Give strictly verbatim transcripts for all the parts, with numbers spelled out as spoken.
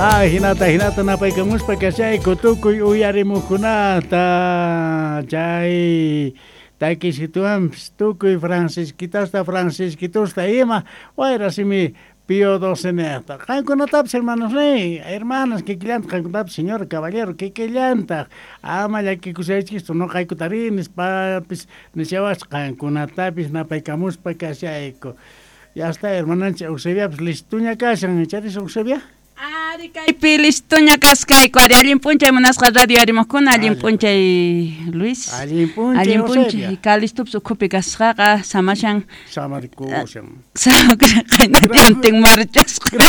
Ah, hinata hinata napaykamuspa kashayku tukuy uyarimuqkunata chay takisituanpis tukuy francisquitasta francisquitusta ima wayrasimi Pío doce niqta qankunatapis hermanos ni hermanas kikillantaq qankunatapis señor caballero kikillantaq ama llakikusaychikchu nuqaykutari nispapis nishawasqa qankunatapis napaykamuspa kashayku. Ya está hermananchik Eusebiapis listuña kashan charis Eusebia. Ari kaypi listuña kaskayku ari allin p'unchay munasqa radio arimuqkuna allin p'unchay Luis allin p'unchay allin p'unchay Calistupis ukhupi kasqaqa samashan samarikushan qaynatintin marchasqa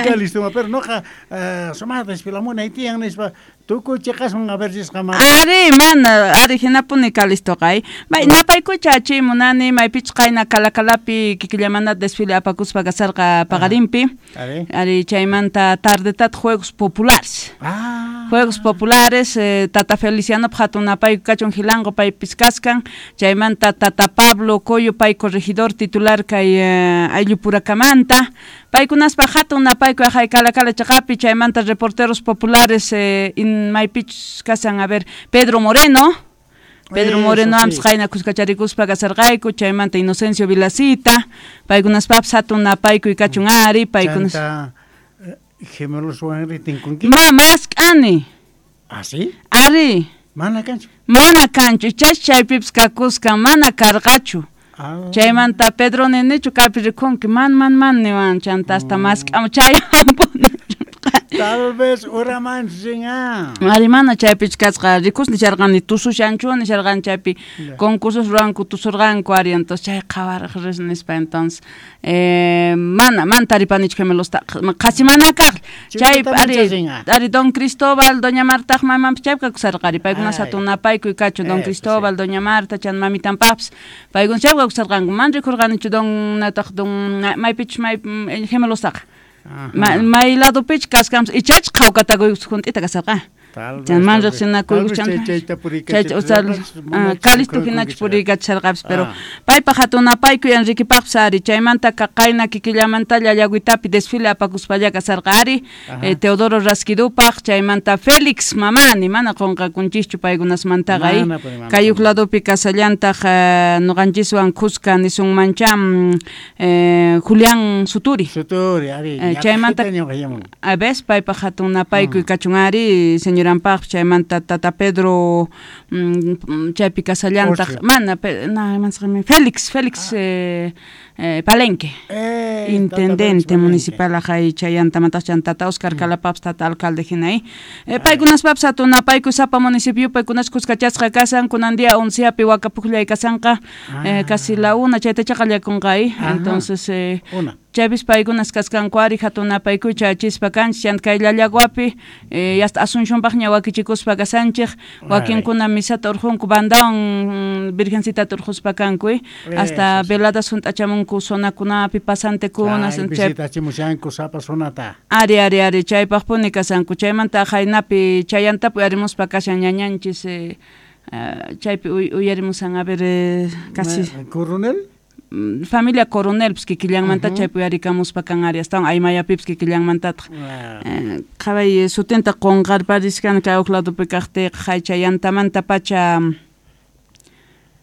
Calistuma pero noqa sumaqta desfilamunay tiyan nispa tukuy chiqasman a ver risqa mana ari mana ari hinapuni Calistoqa ay may napaykucha chay munani maypichus qayna Calacalapi kikillamanta desfile apakuspa kasarqa paqarinpi ari chaymanta tardetat juegos populares ah. Juegos populares eh, Tata Feliciano hatun napayku kachun Jilango paypis kaskan chaymanta Tata Pablo Coyo pay corregidor titular kay eh, ayllupurakamanta paykunaspa hatun napayku ajay Calacala chaqapi chaymanta reporteros populares eh, in maypichus kasan a ver Pedro Moreno Pedro Moreno sí. Amps qayna kuskacharikuspa kasarqayku chaymanta Inocencio Vilacita paykunaspapis hatun napaykuy kachun ari paykunas gemelos wanri tinkunki ma mask'ani. ¿Ah, sí? Ari mana kanchu mana kanchu chay chaypipis kakuskan mana karqachu. Ah. Chaymanta Pedro ninichu kaypi rikunki man man man niwan chanta hasta mm. mask'amu chayampuni. Tal vez uraman ringa. Ari mana chaypichu kasqa rikus nisharqani tusushanchu nisharqani chaypi concursos ruwanku tusurqanku ari entonces chay qhawaraq ris nispa entonces eh, mana mana taripanichu gemelosta qhasi mana kaq chay ari ari don Cristóbal doña Marta mamanpis chaypi kakusarqa ari paykuna hatun napaykuy kachun don Cristóbal doña Marta chan mamitanpaqpis paykuna chaypi kakusarqanku mana rikurqanichu don nataq don maypichus may gemelostaqa. Ma, may ladopich kaskanpis ichach qhawkatakuy junt'ita kasarqa chan man riqsinakuykus chan Calisto hinachu puriykachisharqapis pero paypaq hatun napaykuy Enriquepaqpis ari chaymanta qayna kikillamanta llallagüitapi desfile apakuspalla kasarqa ari eh, Teodoro Rasquidupaq chaymanta Félix Mamani mana qunqakunchischu paykunasmantaqa ay kay huk ladopi kasallantaq nuqanchiswan kuska nisunmancha eh, Julián Suturi Suturi ari eh, chaymanta a ves paypaq hatun napaykuy kachun ari señoranpaq chaymanta Tata Pedro mm, chaypi kasallantaq mana pe, na mansqami Félix Félix ah. eh, eh, Palenque eh, intendente municipal ajay chayantamataq chan Tata Oscar mm. Calapapis tata alcalde hinay eh, paykunaspapis hatun napaykuy sapa municipio paykunas kuskachasqa kasan kunan día onceapi wakapuqllay kasanqa ah. eh, casi la una chaytacha qallakunqa ay entonces eh, una chaypis paykunas kaskanku ari hatun napaykuy chayachispa kanchik chanta kay Llallaguapi eh, hasta Asuncionpaqña wakichikuspa kasanchik wakinkuna misata urqunku bandawan virgencitata urquspa kanku hasta veladas hunt'achamunku zonakunapi pasantekuna visitachimushanku sapa zonata ari ari ari chaypaqpuni kasanku chaymanta qaynapi chayantapi uyarimuspa kashan ñañanchis eh, chaypi uyarimusan a ver eh, casi coronel familia Coronel pis kikillanmanta chaypi uyarikamuspa kan ari astawan aymayapipis kikillanmantataq qhaway sutinta qunqarpariskan kay huk ladopi kaqtiyqa hay chayantamanta pacha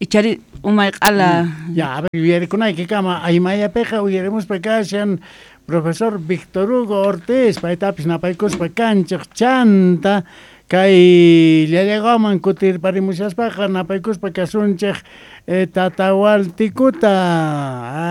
ichari umay q'ala ya a ver uyarikunaykikama aymayapiqa uyarimuspa kashan profesor Víctor Hugo Ortiz paytapis napaykuspa kanchik chanta kay Llallaguaman kutirparimushaspaqa napaykuspa kasunchik eh, Tatahualtikuta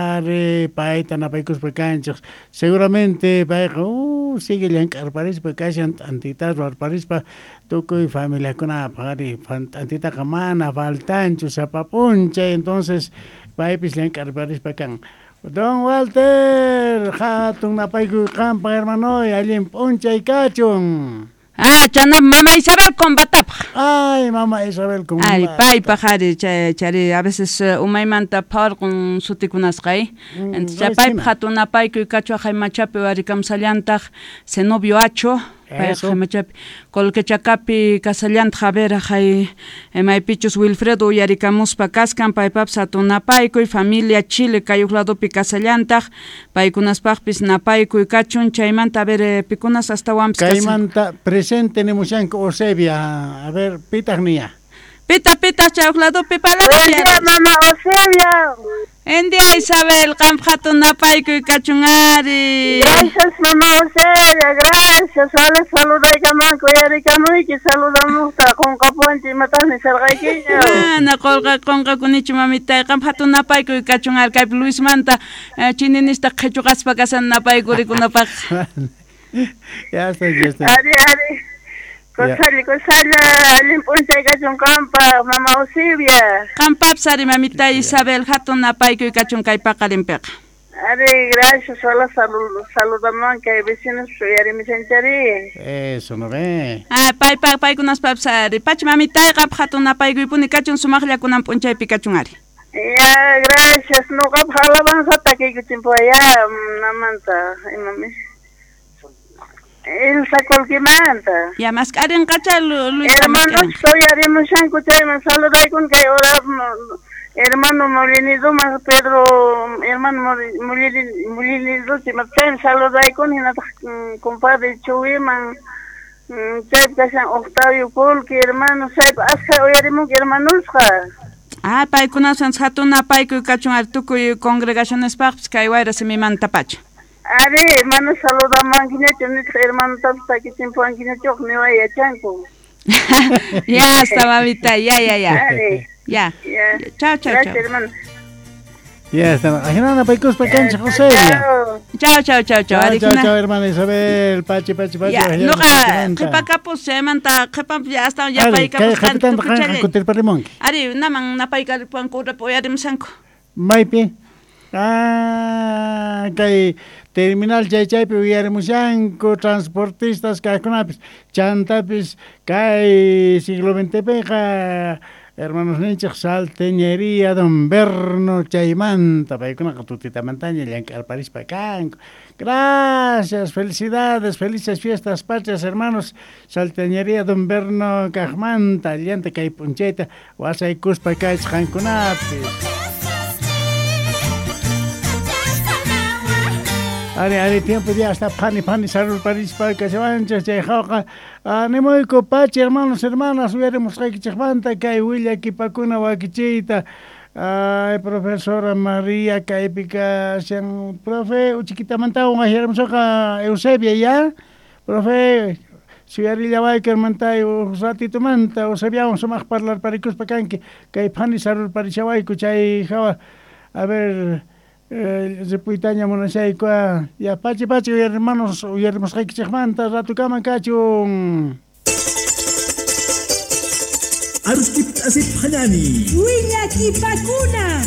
ari payta napaykuspa kanchik seguramente payqa uh, sigue llank'arparispa kashan t'antita ruwarparispa tukuy familiakunapaq ari t'antitaqa mana faltanchu sapa p'unchay entonces paypis llank'arparispa kan. Don Walter hatun napaykuy qanpaq hermanoy allin p'unchay kachun. Ah, chana mama Isabel Combatapaq. Ay, mama Isabel Combata. Ay, paypaq ari chay chari a veces uh, umaymanta pharqun sutikunasqa mm, entonces paypaq hatun napaykuy kachu ajay machapi uyarikamsallantaq Zenobio Acho Payqa machapi Colquechakapi kasallantaq a ver jay maypichus Wilfredo uyarikamuspa kaskan paypapis hatun napaykuy familia Chile kay ladopi kasallantaq paykunaspaqpis napaykuy kachun chaymanta a ver pikunas astawanpis kaymanta presente nimushanku Eusebia a ver pitaq niya pita pita chay ladopi palabra mama Eusebia Endia Isabel, qampa hatun napaykuy kachun ari. Gracias mama Eusebia, gracias. Sale saludaykamanku uyarikamuyki saludamuqta qunqapuwanchik imataq nisarqaykiña. Mana qulqa qunqakunichu mamitay, qampa hatun napaykuy kachun ari kaypi Luismanta chininista qhichuqaspa kasan napaykurikunapaq. Ya está, ya está. Ari, ari. Kusalla, kusalla, allin p'unchay kachun qampa, mama Eusebia. Qampapis ari mamitay Isabel, hatun napaykuy kachun kay paqarinpiqa. Ari, gracias, hola, salud, saludaman kay vecinos uyarimishanchari. Eso, no ve. Ah, pay, pay, paykunaspapis ari. Pachi mamitay, qampa hatun napaykuypuni kachun sumaqlla kunan p'unchaypi kachun ari. Ya, gracias, nuqapaq alabanza takiykuchinpuwa ya, namanta, imami. Elsa Colquimanta. Ya, mask'arinqacha Luis. Hermanos, uyarimushanku chayman saludaykun kay hora hermano Moliniduman Pedro hermano Molinidu chayman saludaykun hinataq compadre Chuwiman chaypi kashan Octavio Colqui hermano chaypi askha uyarimunki hermanosqa. Ah, paykunasan hatun napaykuy kachun ari tukuy congregacionespaqpis kay wayra simimanta pacha. Ari, hermano, saludamankiñachu nitaq hermanotapis takichinpuwankiñachu niway yachanku. Ya está, mamita, ya, ya, ya. Ari. Ya. Ya. Chao, chao, gracias, chao. Hermano. Ya está. Ajinana paykuspa kanchik Eusebia. Chao, chao, chao, chao. Chao, chao, chao, hermana Isabel. Pachi, pachi, pachi. Ya, nuqa qhipakapus chaymanta qhipanpi ya hasta ya paykapus qan kutirparimunki. Ari, naman napaykaripuwanku urapi uyarimushanku. Maypi? Ah, kay terminal chay chaypi uyarimushanku transportistas kaqkunapis chantapis kay siglo veinte piqa hermanos ninchik salteñería Don Berno chaymanta paykunaqa tutitamantaña llank'arparispa kanku. Gracias, felicidades, felices fiestas patrias hermanos salteñería Don Berno kaqmanta llanta kay p'unchayta wasaykuspa kaychik qankunapis. Ari, ari, tiempo ya está pani, pani, sarurparispa, kashawanchik, chay jawqa, animuyku pachi, hermanos, hermanas, uyarimusqaykichikmanta, kay willakipakuna wakichiyta, ay, profesora María, kaypi kashan, profe, uchiquitamantawan wajyarimusoqa Eusebia, ya, profe, suyarillawayku hermantay, uj ratitumanta, Eusebiawan sumaq parlarparikuspa kanki, kay pani sarurparishawayku, chay jawa, a ver, ripuytaña munashayku ya pachi pachi hermanos uyarimusqaykichikmanta ratukama kachun. Aruskip asip hanani. Willakipakuna.